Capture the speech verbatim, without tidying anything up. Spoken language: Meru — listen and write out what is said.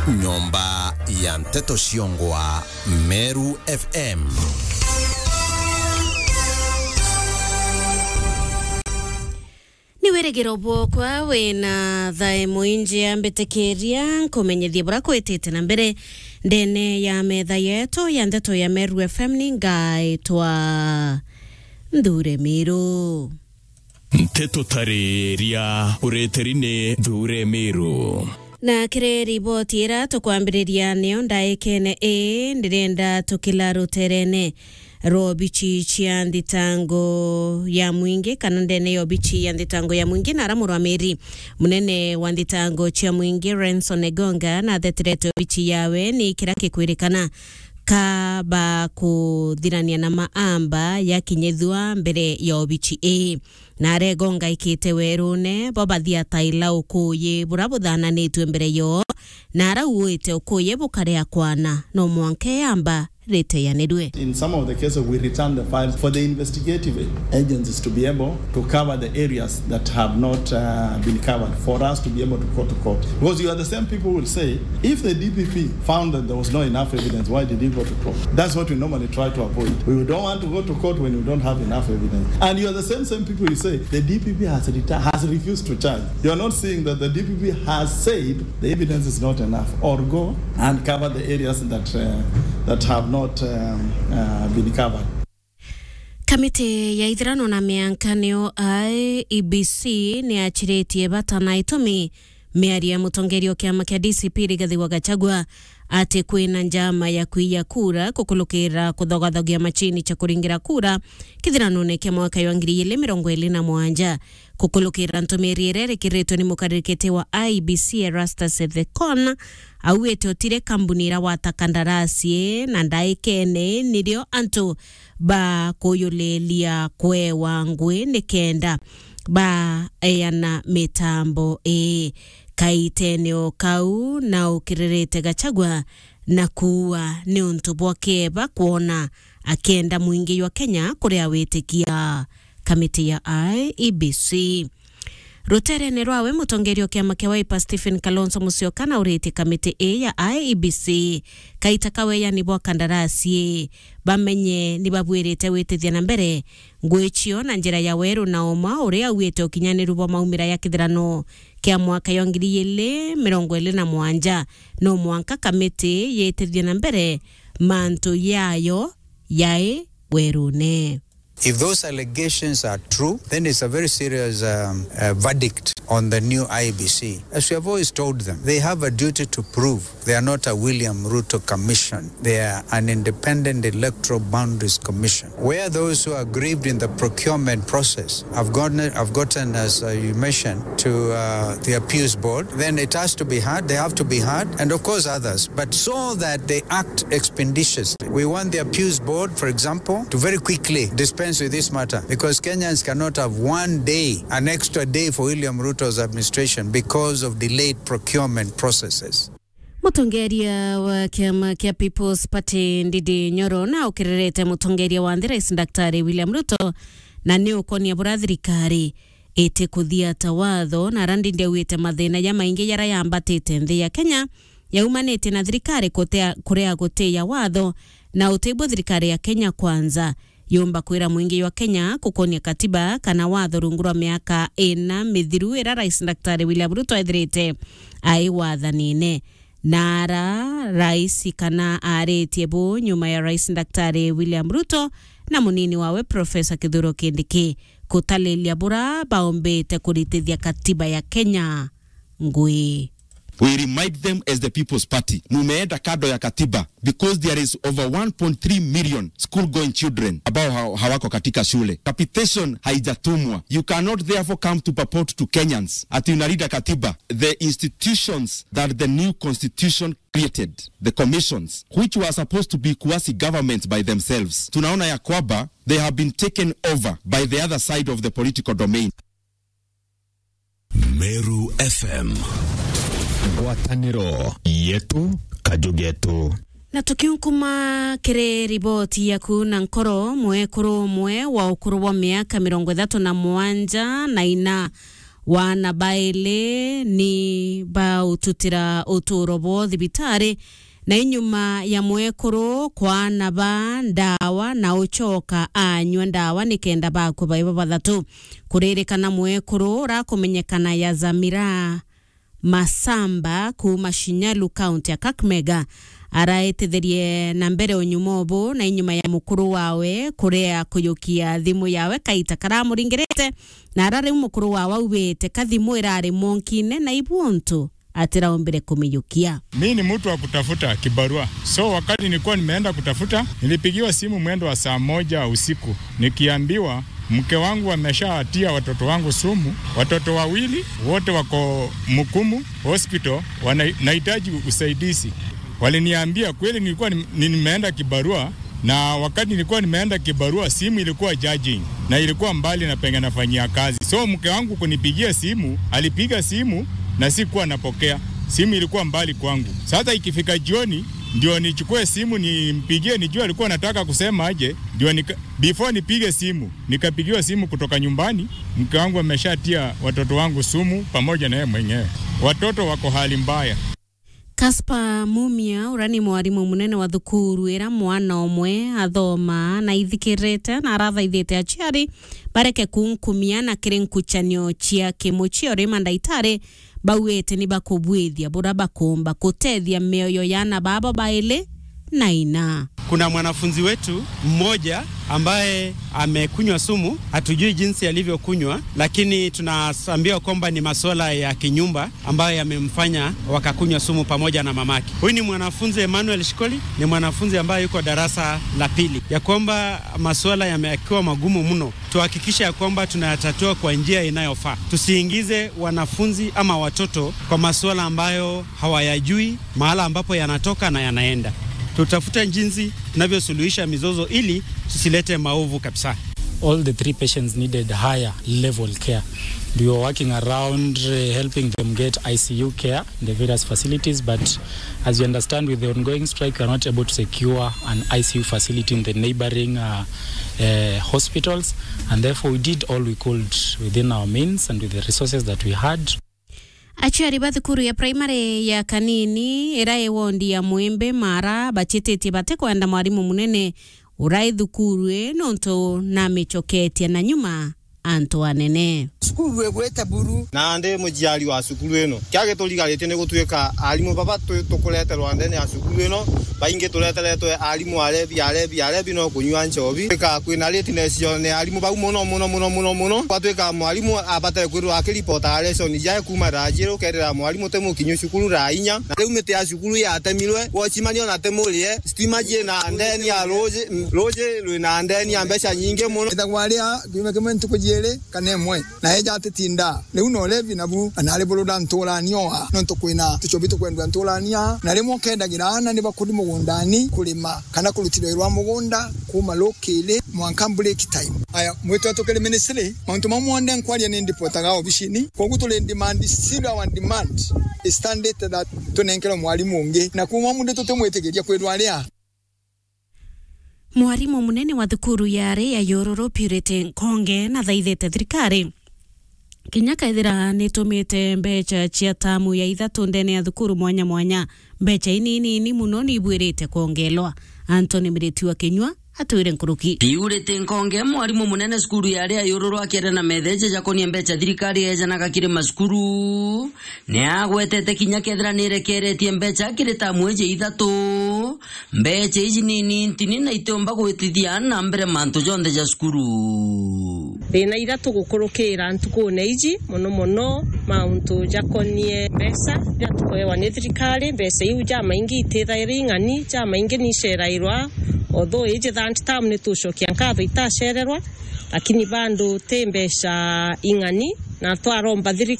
Nyomba ya nteto ciongwa Meru F M. Ni wirigiro bwokwa wina thae mwingi, ambitikiria nkumenyithie bura kwitite na mbere ndene ya metha yetu ya nteto ya Meru F M. Ni ngaitwa Nthure Miru. Nteto tariria ureteri ni Nthure Miru. Na kiri riboti ira tukwambiriria niyo ndaikene ii, ndirenda tukila ruterene rwa obichi cia nthitango ya mwingi, kana ndene ya obichi ya nthitango ya mwingi, na ara murwamiri munene wa nthitango cia mwingi Renson Egonga nathetherete obichi yawe ni kira kikwirikana kaba kuthirania na maamba yakinyithua mbere ya obichi ii. Na ara Egonga ikite werune, bo bathia taila ukuyi bura buthananitue mbere yoo, na ara uuite ukuyi bukarea kwana, no mwanka eamba riteyanirue. In some of the cases, we return the files for the investigative agencies to be able to cover the areas that have not, uh, been covered for us to be able to go to court. Because you are the same people who will say, if the D P P found that there was not enough evidence, why did he go to court? That's what we normally try to avoid. We don't want to go to court when we don't have enough evidence. And you are the same, same people who say the D P P has reta-, has refused to charge. You are not seeing that the D P P has said the evidence is not enough, or go and cover the areas that, uh, that have not, um, uh, been covered. Kamiti ya ithirano na mianka niyo I E B C ni yachiritie bata na itumi miario ya mutongeria o kiama kia D C P Rigathi wa Gachagua ati kwina njama ya kwiya kura kukulukira kuthogathogia machini cha kuringira kura kithiranone kia mwaka wa ngiri igiri mirongo iri na mugwanja. Kukulukira ntumiri iria irikiritwe ni mukaririkiti wa I E B C Erastus Ethekon, auite utire kambuni iria wata kandarasi na ndaikene nirio antu ba kuyulilia kwewa ngui nikenda baeana mitambo ii. Kaitene o kau na ukiririte Gachagua na kuua niuntu bwa kieba kwona akienda mwingi jwa Kenya kuria witikia kamiti ya I E B C. Ruterene rwawe, mutongeria o kiama kia Wiper Stephen Kalonzo Musyoka nauritie kamiti ii ya I E B C kaita ka weyani bwa kandarasi ii bamenye ni babuirite witithia na mbere ngui cio na njira ya weru na uma uria auite ukinyaniru bwa maumira ya kithirano kia mwaka ya ngiri igiri mirongo iri na mugwanja. No mwanka kamiti yitithie na mbere mantu yayo yai werune. If those allegations are true, then it's a very serious, um, uh, verdict on the new I E B C. As we have always told them, they have a duty to prove they are not a William Ruto commission. They are an independent electoral boundaries commission, where those who are aggrieved in the procurement process have gotten, have gotten, as, uh, you mentioned, to, uh, the appeals board. Then it has to be heard. They have to be heard, and of course others. But so that they act expeditiously. We want the appeals board, for example, to very quickly dispense with this matter, because Kenyans cannot have one day, an extra day for William Ruto's administration because of delayed procurement processes. Mutongeria wa kiama kia People's Party, Ndindi Nyoro, na ukirerete mutongeria wa nthi, Rais Daktari William Ruto, na ni ukonia bura thirikari iti kuthiata watho, na ara Ndindi augite mathina ja maingi jara yambatite nthi ya Kenya yaumanitie na thirikari kutea, kurea gutiya watho, na utibwo thirikari ya Kenya Kwanza yumba kwira mwingi jwa Kenya gukonia katiba kana watho rungu rwa miaka ina mithiru ira Rais Daktari William Ruto ethirite ai wathanine. Na ara rais kana aritie bu nyuma ya Rais Daktari William Ruto na munini wawe Professor Kithure Kindiki kutalilia bura baombite kuritithia katiba ya Kenya ngui. We remind them as the People's Party, mumeenda kando ya katiba because there is over one point three million school going children ambao ha-, hawako katika shule. Capitation haijatumwa. You cannot therefore come to purport to Kenyans ati unalinda katiba. The institutions that the new constitution created, the commissions, which were supposed to be quasi governments by themselves, tunaona ya kwamba they have been taken over by the other side of the political domain. Meru F M. Ngwataniro yetu, kaju getu. Na tukiunkuma kiri riboti yaku na nkoro, mwekuru umwe wa ukuru bwa miaka mirongo ithatu na mugwanja na ina Wana baili ni baututira uturo bwao thibitari, na inyuma ya mwekuru kwaana ba ndawa na ucoka anyua ndawa nikenda bakua bai babathatu. Kuririkana mwekuru urakumenyekana ya Zamira Masamba kuuma Shinyalu, kaunti ya Kakamega, araititherie na mbere unyuma ubu na inyuma ya mukuru wawe kurea kuyukia thimu yawe kaita karamuringirite, na ara riu mukuru wawe augite ka thimu irari monkine na ibu untu atiraumbire kumiyukia. Mi ni mtu wa kutafuta kibarua. So wakati nilikuwa nimeenda kutafuta, nilipigiwa simu mwendo wa saa moja usiku, nikiambiwa mke wangu ameshawatia watoto wangu sumu, watoto wawili wote wako Mukumu Hospital, wana-, nahitaji usaidizi. Waliniambia kweli nilikuwa ni-, ni-, nimeenda kibarua, na wakati nilikuwa nimeenda kibarua, simu ilikuwa charging, na ilikuwa mbali na penye nafanyia kazi. So mke wangu kunipigia simu, alipiga simu na sikuwa napokea. Simu ilikuwa mbali kwangu. Sasa ikifika jioni, ndio nichukue simu nimpigie, nijue alikuwa anataka kusema aje, ndio nika-, before nipige simu, nikapigiwa simu kutoka nyumbani, mke wangu ameshatia watoto wangu sumu pamoja na yeye mwenyewe. Watoto wako hali mbaya. Caspar Mumia, uria ni mwarimu munene wa thukuru ira mwana umwe athoma, na ithikirite na arathaithite aciari bareke kunkumia na kiri nkuchanio cia kimuchie, uri mandaitari bauite ni bakubwithia bura bakumba kutethia mioyo ya ana babo baili na ina. Kuna mwanafunzi wetu mmoja ambaye amekunywa sumu, hatujui jinsi alivyokunywa, lakini tunaambiwa kwamba ni masuala ya kinyumba ambayo yamemfanya wakakunywa sumu pamoja na mamake. Huyu ni mwanafunzi Emmanuel Shikoli, ni mwanafunzi ambaye yuko darasa la pili, ya kwamba masuala yamekuwa magumu mno. Tuhakikishe ya kwamba tunayatatua kwa njia inayofaa. Tusiingize wanafunzi ama watoto kwa masuala ambayo hawayajui, mahala ambapo yanatoka na yanaenda. Tutafuta jinsi tunavyosuluhisha mizozo ili tusilete maovu kabisa. All the three patients needed higher level care. We were working around, uh, helping them get I C U care in the various facilities, but as you understand, with the ongoing strike, we are not able to secure an I C U facility in the neighboring, uh, uh, hospitals, and therefore we did all we could within our means and with the resources that we had. Aciari ba thukuru ya primary ya Kanini, ira i wondi ya Mwimbi Mara, bachititie batikwenda mwarimu munene urai thukuru ii, nontu namicoketie na nyuma antu anene. Cukuru igwite buru. Na ndi muciari wa cukuru ino. Kia giturigarite ni gutuika arimu baba tu-, tukureterwa ndene ya cukuru ino. Baingi tureteretwe arimu arebi, arebi, arebi no kunyua nchobi. Tuika kwina lateness yo ni arimu bau muno, muno, muno, muno, muno. Gwatuika mwarimu abate kwirwa akiripota lesson jae kuma thaa jiru, ukerira mwarimu ti mukinyu cukuru thaa inya. Na riu miti ya cukuru yatemirwe, wocimani ona ti murie, stima ciina ndeni ya ruji, ruji rwina ndeni ya mbeca nyingi muno. Ethagwa aria kiumia kimwe ntuku jiiri kana imwe, na eja atitinda. Riu no levi nabu, na ari burura nturania oa, nontu kwina tuchobi tukwendua nturania, na rimwe ukendagira aana ni bakuri mugundani kurima kana kurutirwa rwa mugunda kuma rukiri mwanka break time. Aya, mwitwa tukiri ministry, mauntu mau monthe nkwaria ni ndipotaga obicini. Kwogu turi in demand, still our demand is standard that tunenkerwe mwarimu ungi. Na kuma mundu tutimwitikiria kwirwa aria. Mwarimu munene wa thukuru ya ari ya Yururu, Purity Nkonge, nathaithite thirikari kinya kethira nitumite mbecha cia tamu ya ithatu ndene ya thukuru mwanya mwanya, mbecha inini ini muno ni ibwirite kwongelwa. Anthony Miriti wa Kinyua atwire nkuruki. Purity Nkonge, mwarimu munene cukuru ya ari ya Yururu, akiaria na metheje jakonie mbecha thirikari ejanaga kiri macukuru, ni agwetete kinya kethira ni irekeretie mbecha kiri tamu iji ithatu, mbecha iji ni nini ntini na itiumba gwitithia na mbere mantu jonthe ja cukuru. Thina iria tugukurukira ntukune iji, muno muno mauntu jakonie mbeca iria tukuewa ni thirikari. Mbeca iu jamaingi itithaira ing'ani, jamaingi ni icerairwa, although iji third term ni tucokia nkatho itacererwa, lakini bado ti mbeca ing'ani, na twaromba thirikari